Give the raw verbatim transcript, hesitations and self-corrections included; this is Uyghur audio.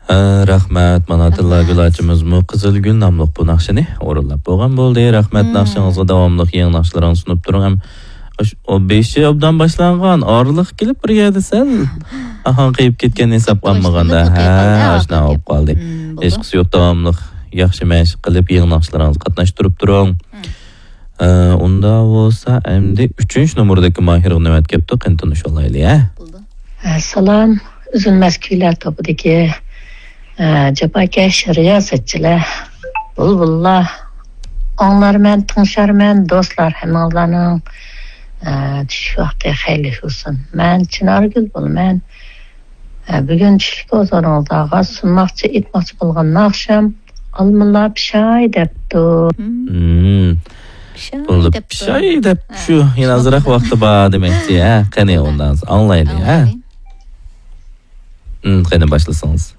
ئە، رەھمەت. مانا تىللاگۈل ئاچىمىزمۇ قىزىل گۈل ناملىق بۇ ناخشىنى ئورۇنلاپ بولغان بولدى. رەھمەت ناخشىڭىزغا داۋاملىق يېڭى ناخشىلىرىڭىزنى سۇنۇپ تۇرۇڭ. ھەم ئاش-، ئو بېشى ئوبدان باشلانغان، ئارىلىق كېلىپ بىر يەردە سەل ئاھاڭ قېيىپ كەتكەن ھېسابقا ئالمىغاندا. ھە، ئاشۇنداق بولۇپ قالدى. ھېچقىسى يوق، داۋاملىق ياخشى مەشىق قىلىپ يېڭى ناخشىلىرىڭىزغا قاتناشتۇرۇپ تۇرۇڭ. ئە، ئۇنداق بولسا ئەمدى ئۈچىنچى نومۇردىكى ماھىرغا نۆۋەت كەپتۇ، قېنى تونۇشۇۋالايلى، ھە؟ ئەسسالام، ئۈزۈلمەس كۈيلەر توپىدىكى، ئە، جاپاكەش رىياسەتچىلەر، بۇلبۇللار، ئاڭلارمەن، تىڭشارمەن، دوستلار، ھەممىڭلارنىڭ، ئە، چۈشلۈك ۋاقتى خەيرلىك بولسۇن. مەن چىنارگۈل بولىمەن. ھە، بۈگۈن چۈشلۈك ھۇزۇرىڭىزلارغا سۇنماقچى، ئېيتماقچى بولغان ناخشام ئالمىلار پىشاي دەپتۇ. مم. پىشاي بولدى، دەپتۇ. پىشاي دەپ ھە، شۇ، يەنە ئازراق ۋاقتى بار دېمەكچى، ھە؟ قېنى، ئۇنداق ئاڭلايلى، ھە؟ ئاڭلايلى. مم، قېنى، باشلىسىڭىز.